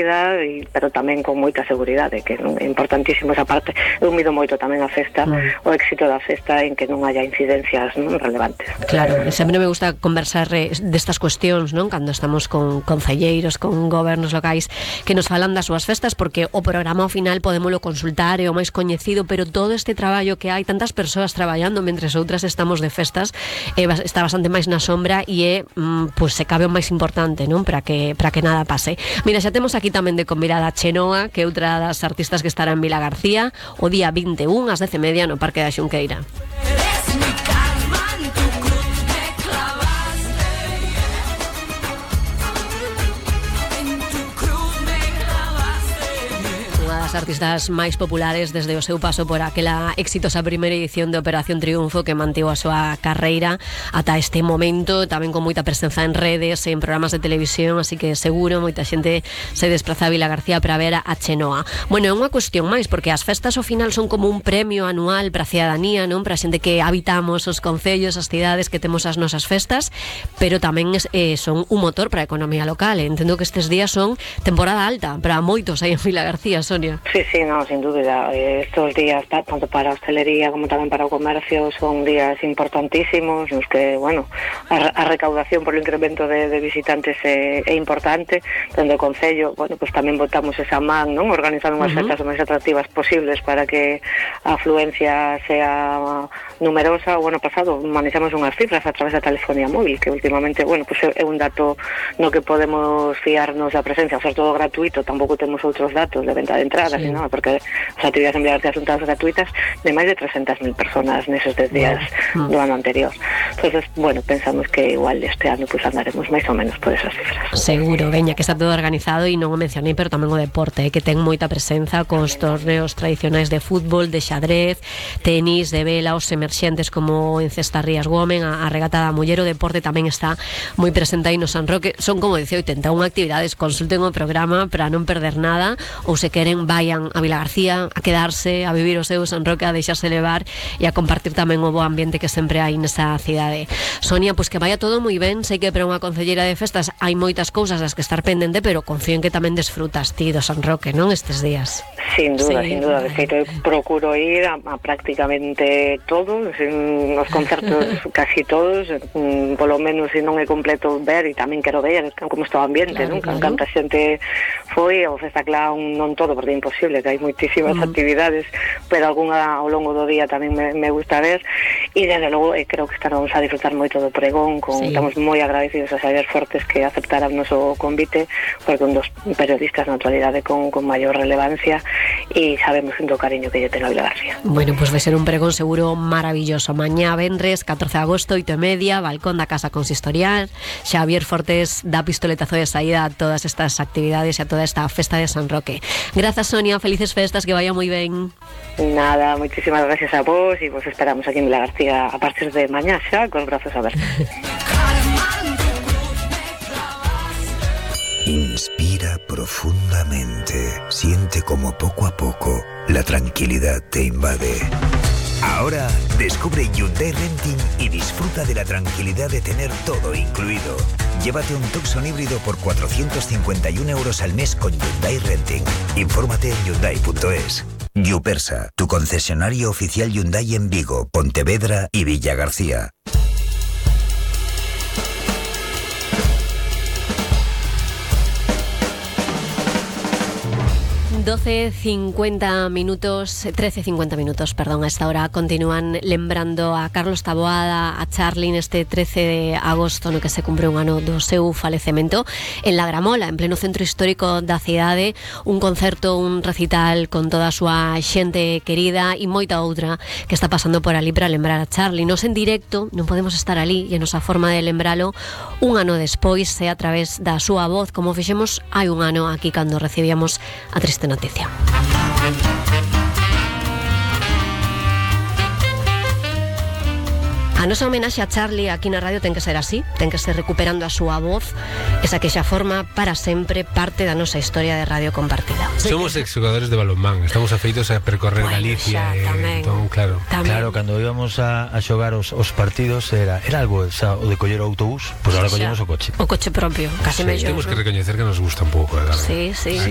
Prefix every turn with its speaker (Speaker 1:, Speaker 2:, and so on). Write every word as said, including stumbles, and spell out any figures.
Speaker 1: e, pero tamén con moita seguridade, que non é importantísimo esa parte. Eu mido moito tamén a festa, mm. o éxito da festa en que non haya incidencias non relevantes.
Speaker 2: Claro, sempre me gusta conversar destas cuestións, non? Cando estamos con concelleiros, con gobernos locais que nos falan das súas festas, porque o programa ao final podémolo consultar, é o máis coñecido, pero todo este traballo que hai, tantas persoas traballando mentres outras estamos de festas, eh, está bastante máis na sombra e é, mm, pues, se cabe o máis importante, non? Para que, para que nada pase. Mira, xa temos aquí tamén de convidada a Chenoa, que é outra das artistas que estará en Vilagarcía o día vinte e un ás dez e media no Parque da Xunqueira. Artistas máis populares desde o seu paso por aquela exitosa primeira edición de Operación Triunfo que mantivo a súa carreira ata este momento, tamén con moita presenza en redes, en programas de televisión, así que seguro moita xente se despraza a Vilagarcía para ver a Chenoa. Bueno, é unha cuestión máis, porque as festas ao final son como un premio anual para a cidadanía, non? Para a xente que habitamos os concellos, as cidades que temos as nosas festas, pero tamén eh, son un motor para a economía local. Entendo que estes días son temporada alta para moitos aí en Vilagarcía, Sonia.
Speaker 1: Sí, sí, no, sin dúbida. Estos días, tanto para a hostelería como tamén para o comercio, son días importantísimos, nos que, bueno, a, a recaudación por o incremento de, de visitantes é, é importante. Dende o Concello, bueno, pues tamén botamos esa man, non? Organizando unhas uh-huh. festas o máis atractivas posibles para que a afluencia sea numerosa. O ano pasado manexamos unhas cifras a través da telefonía móvil, que últimamente, bueno, pues é un dato no que podemos fiarnos da presencia, ao ser todo gratuito, tampouco temos outros datos de venta de entrada, sí. ¿no? Porque as actividades en Vilagarcía son todas gratuitas, de máis de trescentas mil personas neses dez días wow. do ano anterior. Entonces, bueno, pensamos que igual este ano pues andaremos máis ou menos por esas cifras.
Speaker 2: Seguro, veña, que está todo organizado e non o mencionei, pero tamén o deporte, eh, que ten moita presenza cos torneos tradicionais de fútbol, de xadrez, tenis, de vela, os emerxentes como en Cestarrías Women, a, a regata da muller, o deporte tamén está moi presente aí no San Roque. Son, como dicía, oitenta e unha actividades. Consulten o programa para non perder nada, ou se queren vayan a Vilagarcía a quedarse, a vivir o seu San Roque, a deixarse levar e a compartir tamén o bo ambiente que sempre hai nesa cidade. Sonia, pois pues que vaya todo moi ben. Sei que para unha concelleira de festas hai moitas cousas das que estar pendente, pero confío en que tamén desfrutas ti do San Roque, non, estes días?
Speaker 1: Sin duda, sí, sin duda. De
Speaker 2: vale.
Speaker 1: feito, eu procuro ir a, a prácticamente todos, en os concertos casi todos, mm, polo menos se non é completo ver, e tamén quero ver como está o ambiente, claro, non? Claro. Canta xente foi, o Festa Clown non todo, porque é imposible, que hai moitísimas uh-huh. actividades, pero algunha ao longo do día tamén me, me gusta ver, e desde logo eh, creo que estaremos a disfrutar moito do pregón, con, sí. estamos moi agradecidos a Xavier Fortes que aceptara o noso convite, porque un dos periodistas na actualidade con, con maior relevancia, e sabemos do cariño que lle ten a Vilagarcía.
Speaker 2: Bueno, pois pues vai ser un pregón seguro maravilloso. Mañá, vendres, catorce de agosto, oito e media, balcón da Casa Consistorial. Xavier Fortes dá pistoletazo de saída a todas estas actividades e a toda esta festa de San Roque. Grazas, Sonia, felices festas, que vaya moi ben.
Speaker 1: Nada, moitísimas gracias a vos, e vos esperamos aquí en Vilagarcía a partir de mañá xa, con os brazos abertos.
Speaker 3: Inspira profundamente. Siente como poco a poco la tranquilidad te invade. Ahora descubre Hyundai Renting y disfruta de la tranquilidad de tener todo incluido. Llévate un Tucson híbrido por cuatrocientos cincuenta y un euros al mes con Hyundai Renting. Infórmate en hyundai punto es. Yupersa, tu concesionario oficial Hyundai en Vigo, Pontevedra y Villagarcía.
Speaker 2: doce cincuenta minutos, trece cincuenta minutos, perdón, a esta hora continúan lembrando a Carlos Taboada, a Charly neste trece de agosto no que se cumpre un ano do seu falecemento en La Gramola, en pleno centro histórico da cidade, un concerto, un recital con toda a súa xente querida e moita outra que está pasando por ali para lembrar a Charly. Nos en directo non podemos estar ali e a nosa forma de lembralo un ano despois é a través da súa voz, como fixemos hai un ano aquí cando recibíamos a triste noticia. A nosa homenaxe a Charly aquí na radio ten que ser así, ten que ser recuperando a súa voz, esa que xa forma para sempre parte da nosa historia de radio compartida.
Speaker 4: Somos exjugadores de balonmán, estamos afeitos a percorrer bueno, Galicia, xa, e, entón, claro.
Speaker 5: Tamén. Claro, cando íbamos a, a xogar os, os partidos era era algo xa, o de coller o autobús, pois pues ahora collemos o coche.
Speaker 2: O coche propio, casi
Speaker 4: sí,
Speaker 2: mellor.
Speaker 4: Temos que recoñecer que nos gusta un pouco, eh,
Speaker 2: Sí, sí.
Speaker 4: sí.